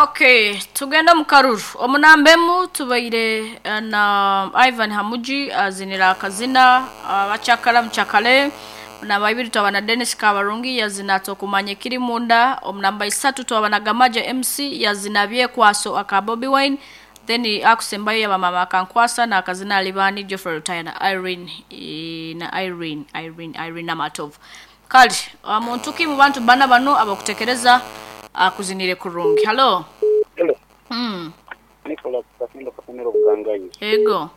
Okay, tugende omu karuru. Omu namba emu tubaire eh, na Ivan Hamuji azinira akazina abakyakara mukyakare. Omu namba ibiri twaba na Dennis Kabarungi yazina tokumanya ekiri munda. Omu namba isatu twaba na Gamaja MC yazina byekwaso aka Bobi Wine. Then akusembayo yaba mama akankwasa na akazina alibani Geoffrey Rutaya na Irene eh, na Irene Irene Irene Namatovu. Kale muntu ki mu bantu bana bano abakutekereza akuzinire kurungi? Halo. Hello. Mm. Nicholas Kasimba Kasemero Bugangayi. Ego.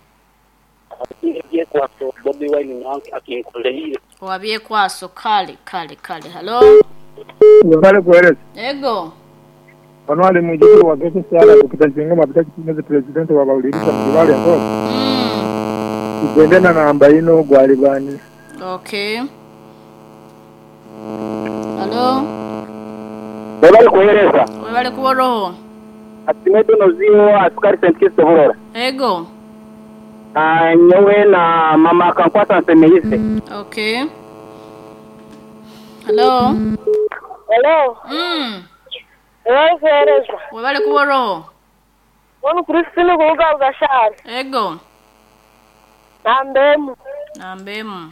Ebyekwaso Bobi Wine nange akinkoleire. Wabyekwaso kale kale kale. Halo. Webale kuwereza. Ego. Ono ali mwijukuru wa Gete Sara Dokita Nzingoma Bitaki Kinyozi president wa bawuliriza mu Kibaale Nkoozi. Tugende na namba ino gwalibani. Okay. Halo. Webale kuwereza. Webale kuboroho. Asimedo noziyo askari St. Kitts Burora. Ego. Ah, nyowe na mama akankwasa nsemeise. Okay. Halo. Hello, Webale kuwereza. Webale kuboroho. Wanu Christine kuruga Ugashari. Ego. Namba emu. Namba emu.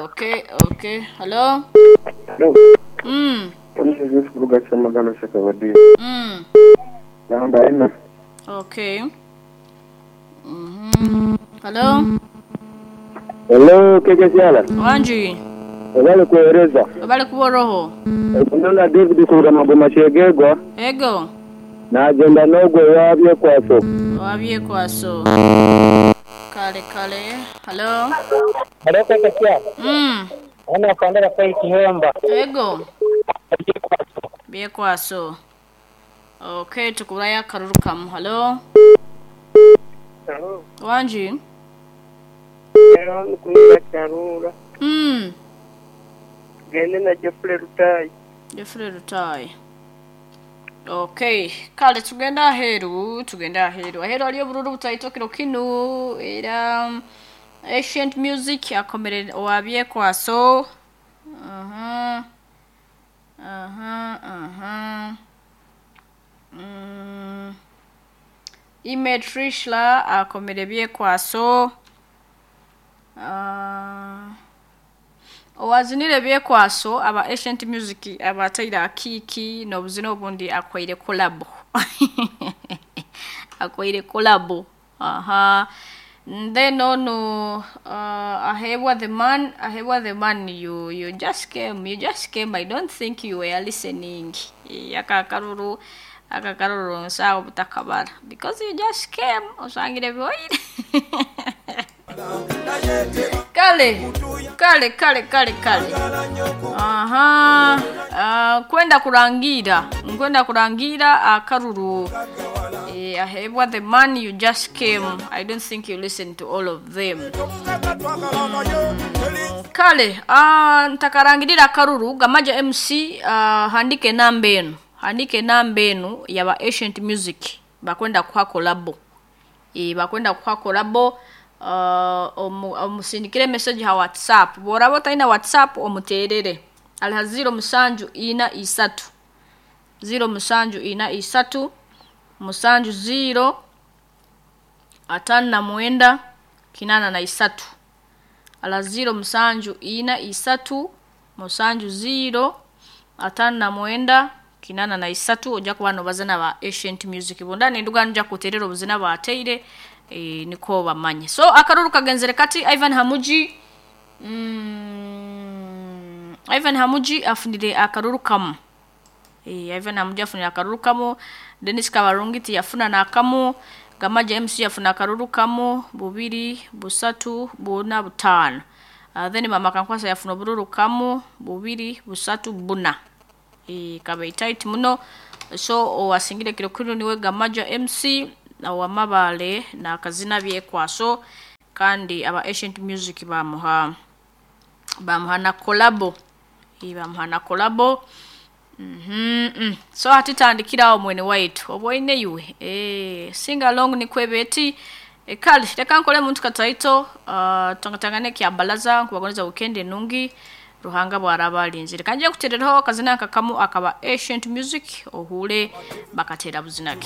Okay, okay. Halo. Hello. Ono Joseph kuruga Kyamagalo Shakabadi. Namba ina. Okay. Halo. Hello, keke siala. Wanji. Webale kuwereza. Webale kuboroho. Nona David kuruga Magoma Kyegegwa. Ego. Nagenda n'ogwo wabyekwaso. Wabyekwaso. Kale kale. Halo. Hello keke siala. Ono afandera kwa ikihemba. Ego. Byekwaso. Okay, tukubulayo akaruru kamu. Halo. Hello. Wanji. Hello, nikuruga Kyarura. Gende na Geoffrey Rutayi. Geoffrey Rutayi. Okay, kale tugenda aheeru, tugenda aheeru. Aheeru haliyo obururu butaito kiro kinu era Ancient Music akomere owabyekwaso. Aha. Aha, aha. Ime Trishla akomere byekwaso. Owazinire byekwaso aba Ancient Music abataire akiki n'obuzina obundi akwaire collab. Akwaire collab. Aha. Then ono Ahebwa the man, Ahebwa the man, you just came, you just came. I don't think you were listening. Akakaruru, akakaruru nsawo butakabara because you just came osangire byoire. Kale, kale, kale, kale, kale. Aha. Kwenda kurangira, nkwenda kurangira akaruru. Ahebwa the man, you just came. I don't think you listen to all of them. Kale, ntakarangirira akaruru Gamaja MC handike namba enu. Handike namba enu yaba Ancient Music bakwenda kuha collabo. Bakwenda kuha collabo. Omusindikire message ha WhatsApp. Bworaba otalina WhatsApp omuterere. Aliha 0 musanju ina isatu. 0 musanju ina isatu. Musanju 0 59 83. Ala 0 musanju ina isatu. Musanju 0 59 83. Ojja kuba nobazana ba Ancient Music. Bunda nenduga nja kuterera obuzina bateire. Niko bamanye. So akaruru kagenzere kati Ivan Hamuji. Ivan Hamuji afunire akaruru kamu. Ivan Hamuji afunire akaruru kamu. Dennis Kabarungi tiyafuna nakamu. Gamaja MC yafuna akaruru kamu. Bubiri, busatu, buna, butano. Then mama Kankwasa yafuna obururu kamu. Bubiri, busatu, buna. Kabe tight muno. So owasingire kiro kino niwe Gamaja MC na wamabale na kazina byekwaso kandi aba Ancient Music bamuha na collabo. Bamuha na collabo. So hatitandikirawo mwene waitu obwoine iwe sing along ni kwebeti. Kale reka nkole muntu kataito tangatangane kya balaza nkubagoneza weekend enungi. Ruhanga bwaraba arinzire. Kanje nkuterereho akazina kakamu akaba Ancient Music ohure bakatera buzinake.